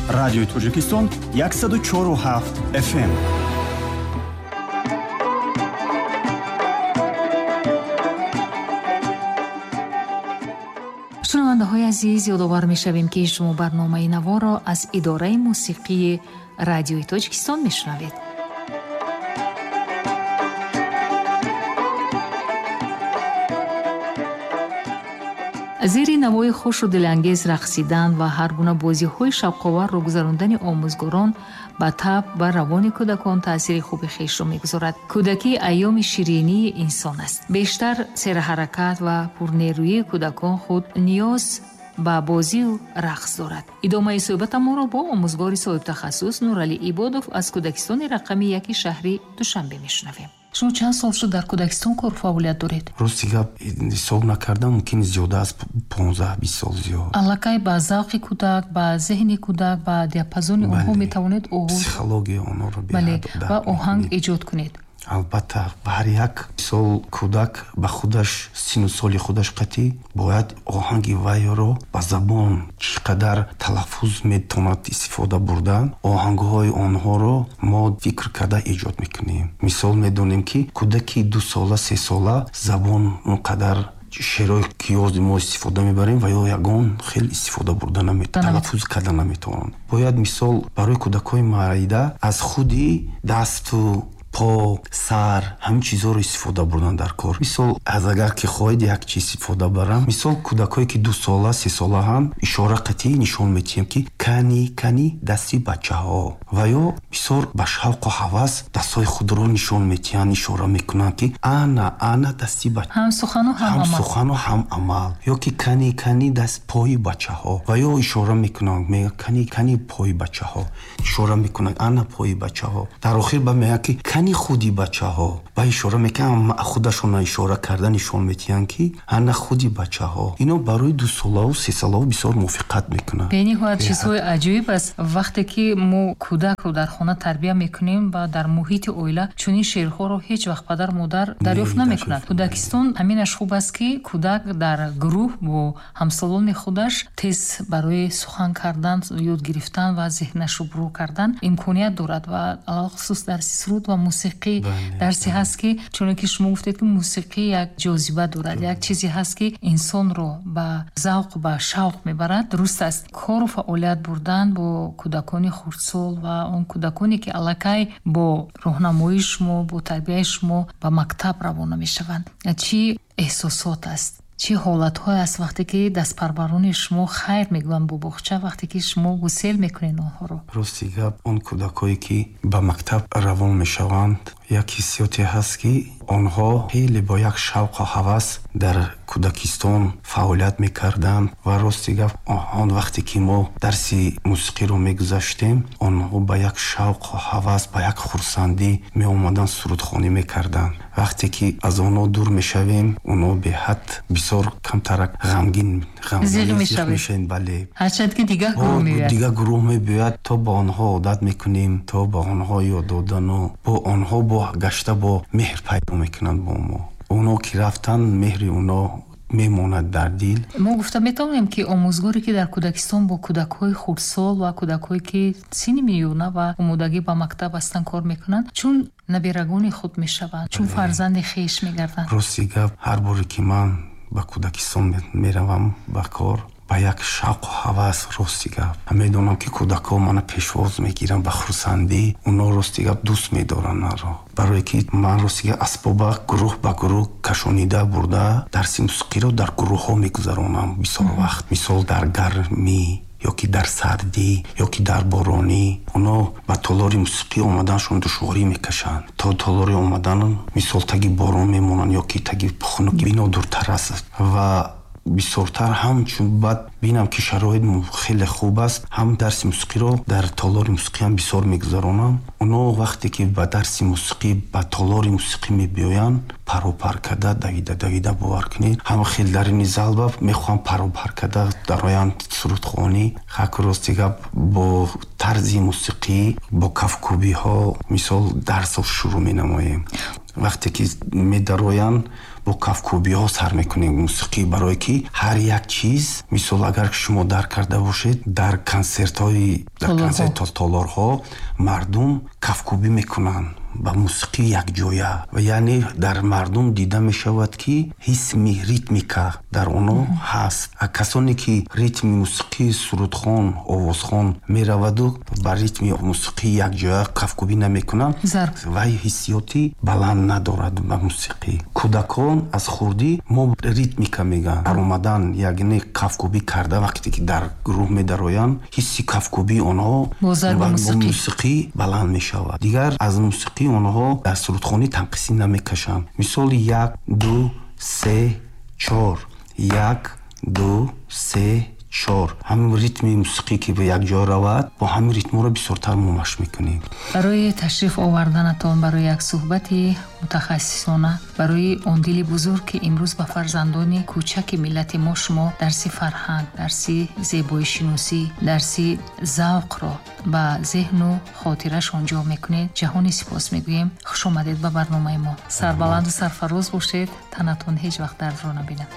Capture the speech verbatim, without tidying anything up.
Радиои Тоҷикистон яксаду чору ҳафт эф эм. Шунавандаҳои азиз, ёдовар мешавем, ки шумо барномаи наворо аз идораи мусиқии Радиои Тоҷикистон мешунавед. Зери навои хушу дилангез рақсидан ва ҳар гуна бозиҳои шавқоварро гузарондани омӯзгорон ба таб ва равони кӯдакон таъсири хуби хешро мегузорад. Кӯдакӣ айёми ширинии инсон аст. Бештар серҳаракат ва пурнерӯии кӯдакон худ ниёз ба бозию рақс дорад. Идомаи суҳбатамонро бо омӯзгори соҳибтахассус Нуралӣ Ибодов аз кӯдакистони рақами яки шаҳри Душанбе мешунавем. Шумо чанд сол шуд дар кӯдакистон кор фаъолият доред? Рости гап ҳисоб накардам, мумкин зиёда аз понздаҳ бист сол зиёд. Аллакай ба завқи кӯдак, ба зеҳни кӯдак, ба диапазони онҳо метавонед оғоз, психологияи онҳоро бале, ва оҳанг эҷод кунед. Албатта, ҳар як сол кӯдак ба худаш сину соли худаш қатъӣ бояд оҳанги вайро ба забон чӣ қадар талаффуз метавонад истифода бурдан, оҳангҳои онҳоро мо фикр карда эҷод мекунем. Мисол медонем, ки кӯдаки дусола, сесола забон он қадар шеърҳое ки ёз мо истифода мебарем ва ё ягон хел истифода бурда наметавонад, талаффуз карда наметавонанд. Бояд мисол барои кӯдакҳои марида аз худи дасту по, сар, ҳамин чизҳоро истифода бурдан дар кор. Мисол, аз агар ки хоҳед як чиз истифода барам, мисол кӯдакҳое ки дусола, сесола ҳам ишора қатъӣ нишон медиҳем, ки кани, кани дасти бачаҳо. Ва ё бисёр ба шавқу ҳавас дастҳои худро нишон медиҳанд, ишора мекунанд, ки ана, ана дасти бача. Ҳам сухану ҳам амал. Ҳам сухану ҳам амал. Ё ки кани, кани даст пои бачаҳо. Ва ё ишора мекунанд, мегӯянд кани, кани пои бачаҳо. Ишора мекунанд ана пои бачаҳо. Дар охир ба мегӯянд, ки кани худи бачаҳо. Ба ишора мекунанд, худашонро ишора карда нишон медиҳанд, ки ана худи бачаҳо. Ино барои дусолаву сесолаву бисёр мувофиқат мекунанд. Бениҳоят чизҳои аҷоиб аст. Вақте ки мо кӯдакро дар хона тарбия мекунем ва дар муҳити оила чунин шеърҳоро ҳеҷ вақт падар модар дарёфт намекунад. Кӯдакистон ҳаминаш хуб аст, ки кӯдак дар гурӯҳ бо ҳамсолони худаш тез барои сухан кардан, ёд гирифтан ва зеҳнашро бурӯ кардан имконият дорад ва алалхусус дарси суруд ва мусиқӣ дарсе ҳаст, ки чуне ки шумо гуфтед, ки мусиқӣ як ҷозиба дорад, як чизе ҳаст, ки инсонро ба завқ, ба шавқ мебарад. Дуруст аст, кору фаъолият бурдан бо кӯдакони хурдсол ва он кӯдаконе, ки аллакай бо роҳнамоии шумо, бо тарбияи шумо ба мактаб равона мешаванд, чӣ эҳсосот аст, чӣ ҳолатҳое аст вақте ки дастпарварони шумо хайр мегӯянд бо боғча, вақте ки шумо гусел мекунед онҳоро? Рости гап, он кӯдакҳое ки ба мактаб равон мешаванд, як ҳиссиёте ҳаст, ки онҳо хеле бо як шавқу ҳавас дар кӯдакистон фаъолият мекарданд ва рости гап, он вақте ки мо дарси мусиқиро мегузаштем, онҳо ба як шавқу ҳавас, ба як хурсандӣ меомаданд, сурудхонӣ мекарданд. Вақте ки аз онҳо дур мешавем, онҳо беҳад бисёр камтарак ғамгин, ғамгин мешаванд. Бале, ҳарчанд ки дигар гурӯҳ меояд, дигар гурӯҳ мебиёяд, то ба онҳо одат мекунем, то ба онҳо ёд додану бо онҳо бо гашта бо меҳр пайдо мекунанд бо мо. Онҳо ки рафтанд, меҳри онҳо мемонад дар дил. Мо гуфта метавонем, ки омӯзгоре, ки дар кӯдакистон бо кӯдакҳои хурдсол ва кӯдакҳое, ки синни миёна ва омодагӣ ба мактаб ҳастанд, кор мекунанд, чун набирагони худ мешаванд, чун фарзанди хеш мегарданд. Рости гап, ҳар боре ки ман ба кӯдакистон меравам ба кор, ба як шавқу ҳавас, рости гап медонам, ки кӯдакҳо мана пешвоз мегиранд ба хурсандӣ. Онҳо рости гап дӯст медоранд маро, барое ки ман рости гап асбоба гурӯҳ ба гурӯҳ кашонида бурда дарси мусиқиро дар гурӯҳҳо мегузаронам бисёр вақт. Мисол дар гармӣ ё ки дар сардӣ ё ки дар боронӣ онҳо ба толори мусиқӣ омаданшон душворӣ мекашанд. То толори омадан мисол таги борон мемонанд ё ки таги хунук бино дуртар аст ва бисёртар ҳам чун баъд бинам, ки шароит хеле хуб аст, ҳам дарси мусиқиро дар толори мусиқӣ ҳам бисёр мегузаронам. Онҳо вақте ки ба дарси мусиқӣ, ба толори мусиқӣ мебиёянд, паропар карда давида давида, бовар кунед, ҳам хел дар ини залба мехоҳам паропар карда дароянд сурудхонӣ. Хаку рости гап, бо тарзи мусиқӣ, бо кафкӯбиҳо мисол дарсо шурӯъ менамоем. Вақте ки медароянд, Бо кафкӯбиҳо сар мекунем мусиқӣ, барое ки ҳар як чиз, мисол агар шумо дарк карда бошед, дар консертҳои дар консерт толорҳо мардум кафкӯбӣ мекунанд ба мусиқӣ якҷоя, ва яъне дар мардум дида мешавад, ки ҳисми ритмика дар онҳо ҳаст. А касоне ки ритми мусиқии сурудхон, овозхон мераваду ба ритми мусиқӣ якҷоя кафкӯбӣ намекунанд, вай ҳиссиёти баланд надорад ба мусиқӣ. Кӯдакон аз хурдӣ мо ритмика мегӯянд, баромадан, яъне кафкӯбӣ карда, вақте ки дар гурӯҳ медароянд, ҳисси кафкӯбии онҳо бо мусиқӣ баланд мешавад. Дигар аз мусиқӣ онҳо дар сурудхонӣ танқисӣ намекашанд. Мисоли як, ду, се, чор, як, ду, се, чор. Ҳамин ритми мусиқӣ ки ба як ҷо равад, бо ҳамин ритмҳоро бисёртар мо машқ мекунем. Барои ташриф оварданатон, барои як суҳбати мутахассисона, барои он дили бузург, ки имрӯз ба фарзандони кӯчаки миллати мо шумо дарси фарҳанг, дарси зебоишиносӣ, дарси завқро ба зеҳну хотирашон ҷо мекунед, ҷаҳони сипос мегӯем. Хуш омадед ба барномаи мо. Сарбаланду сарфароз бошед, танатон ҳеҷ вақт дардро набинад.